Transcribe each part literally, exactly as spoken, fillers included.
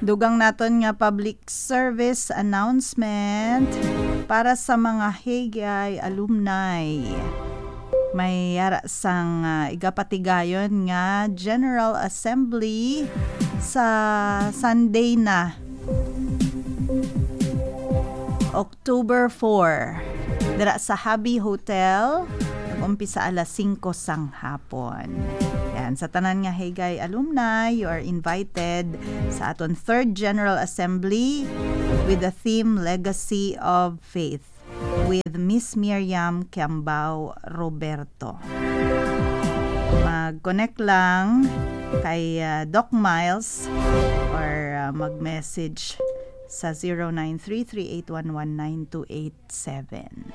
Dugang naton nga public service announcement para sa mga Hagay alumni. May yara sang, ah, igapatigayon nga General Assembly sa Sunday na, October four, dira sa Habi Hotel. Nag-umpisa alas singko sang hapon. Yan, sa tanan nga Hagay alumni, you are invited sa aton third General Assembly with the theme Legacy of Faith with Miss Miriam Kiambao Roberto. Mag-connect lang kay, ah, Doc Miles or, ah, mag-message sa zero nine three three eight one one nine two eight seven.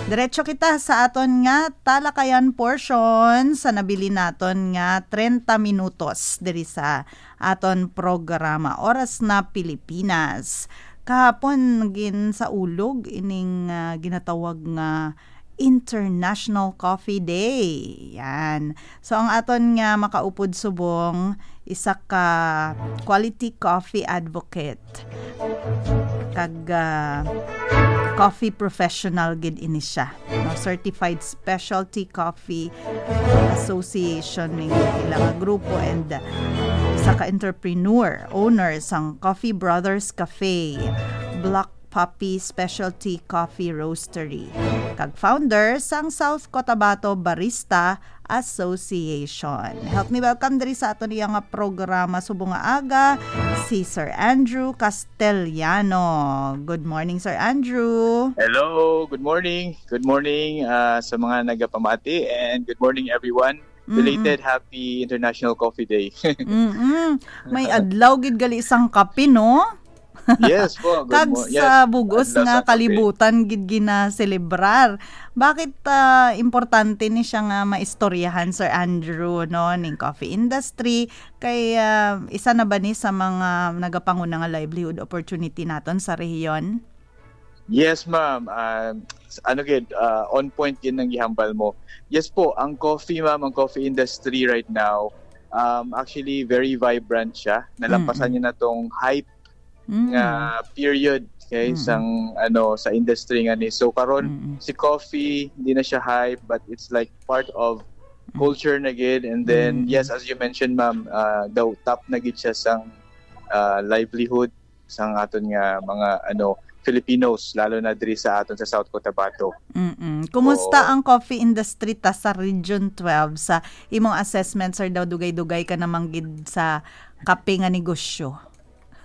Diretso kita sa aton nga talakayan portion sa nabilin naton nga treinta minutos diri sa aton programa Oras na Pilipinas. Kahapon ginsaulog ining, ah, ginatawag nga International Coffee Day. Yan. So, ang aton nga makaupod subong, isa ka quality coffee advocate. Kag, ah, coffee professional gid ini siya. No? Certified Specialty Coffee Association ning ila nga grupo, and, uh, isa ka entrepreneur, owner sang Coffee Brothers Cafe, Black Puppy Specialty Coffee Roastery, kag founder sang South Cotabato Barista Association. Help me welcome diri sa aton iya nga programa subong nga aga, si Sir Andrew Castellano. Good morning, Sir Andrew. Hello, good morning. Good morning, ah, sa mga nagapamati, and good morning, everyone. Mm-mm. Belated happy International Coffee Day. Mm-mm. May adlaw gid gali sang kape, no? Yes po. Good Kag mo- sa yes, bugos adlaw nga sa kape. Kalibutan gid ginaselebrar. Bakit, ah, importante ni siya nga maistoryahan, Sir Andrew, no, ning coffee industry? Kay, ah, isa na ba ni sa mga nagapanguna nga livelihood opportunity naton sa rehiyon? Yes, ma'am. Ah, s- ano gid, ah, on point gid ang gihambal mo. Yes po, ang coffee, ma'am, ang coffee industry right now, um, actually very vibrant siya. Nalampasan Mm-mm. niya na tong hype Mm. nga period, okay, Mm-mm. sang, ano, sa industry nga ni. So karon, Mm-mm. si coffee hindi na siya hype, but it's like part of Mm. culture na gid. And then, Mm-mm. yes, as you mentioned, ma'am, uh, daw top na gid siya sang, uh, livelihood sang aton nga mga, ano, Filipinos, lalo na diri sa aton sa South Cotabato. Mm-mm. Kumusta Oo. ang coffee industry ta sa Region twelve? Sa imong assessment, sir, daw dugay-dugay ka naman gid sa kape nga negosyo.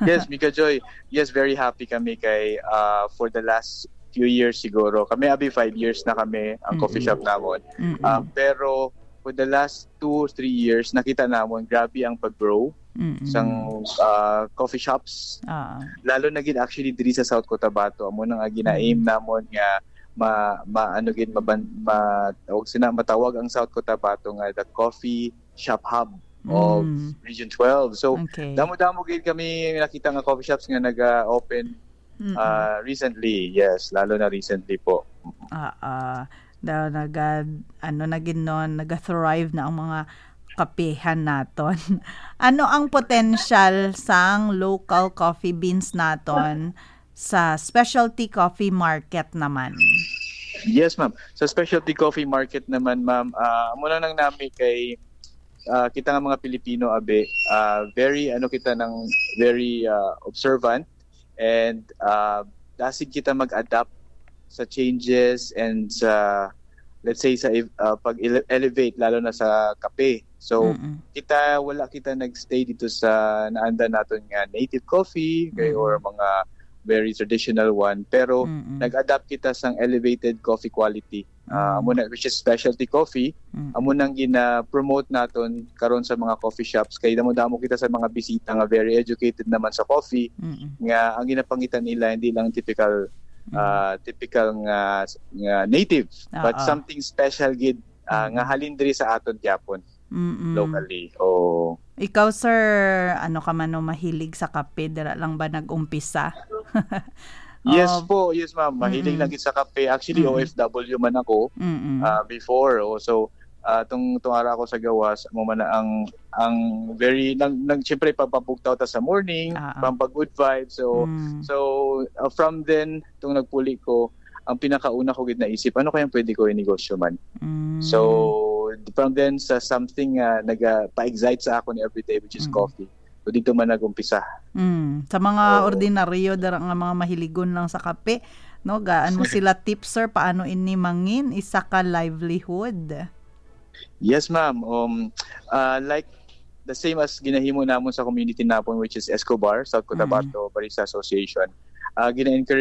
Yes, Mika Joy. Yes, very happy kami kay, uh, for the last few years siguro. Kami abi five years na kami ang coffee Mm-mm. shop namon. Mm-mm. Uh, pero for the last two or three years, nakita namon grabe ang pag-grow Mm-mm. sang, uh, coffee shops. Ah. Lalo na gid actually diri sa South Cotabato, amo na nga gina-aim Mm. namon nga ma, ma ano gid maban, ma, tawag sina, matawag ang South Cotabato nga the coffee shop hub of Mm. Region twelve. So, Okay. damo-damo gid kami nakita nga coffee shops nga naga-open, Mm-mm. ah, recently. Yes, lalo na recently po. Ah, ah. Daw naga, ano na gid, no, naga-thrive na ang mga kapehan naton. Ano ang potential sang local coffee beans naton sa specialty coffee market naman? Yes, ma'am. Sa specialty coffee market naman, ma'am, ah, amo na nang nami kay, ah, kita nga mga Pilipino, abi, ah, very, ano, kita nang very, ah, observant, and, ah, dasig kita mag-adapt sa changes and sa, let's say, sa ev-, ah, pag-ele-, elevate, lalo na sa kape. So, Mm-mm. kita, wala kita nag-stay dito sa naanda naton nga native coffee, okay, Mm. or mga very traditional one, pero Mm-mm. nag-adapt kita sang elevated coffee quality. Ah, Mm. amo na, which is specialty coffee. Mm. Amo nang gina-promote naton karon sa mga coffee shops, kay damo-damo kita sa mga bisita nga very educated naman sa coffee, Mm-mm. nga ang ginapangita nila hindi lang typical, Mm. ah, typical nga, nga native, but Oo. something special gid, ah, Mm. nga halin diri sa aton gyapon Mm-mm. locally. Oh. Ikaw, sir, ano ka man, no, mahilig sa kape? Dira lang ba nag-umpisa? Yes Oh. po, yes, ma'am. Mahilig Mm-mm. lang gid sa kape. Actually, Mm-mm. O F W man ako, Mm-mm. ah, before. Oh, so, Ah, tung tung ara ako sa gawas, amo man na ang ang very nang, nang siyempre pampabugtaw ta sa morning, Ah, ah. pampag-good vibe. So Mm. so uh, from then tung nagpuli ko, ang pinakauna ko gid naisip, ano kaya pwede ko i-negosyo man? Mm. So from then sa something nga nagapa-excite sa akon every day, which is Mm. coffee. So dito man nag-umpisa. Mm. Sa mga Oo. ordinaryo dara nga mga mahiligon lang sa kape, no, gaan mo sila tips, sir, paano ini mangin isa ka livelihood? Yes, ma'am. Um, uh, like the same as ginahimo namon sa community napon, which is Escobar, South Mm. Cotabato Barista Association. Uh, gina-encourage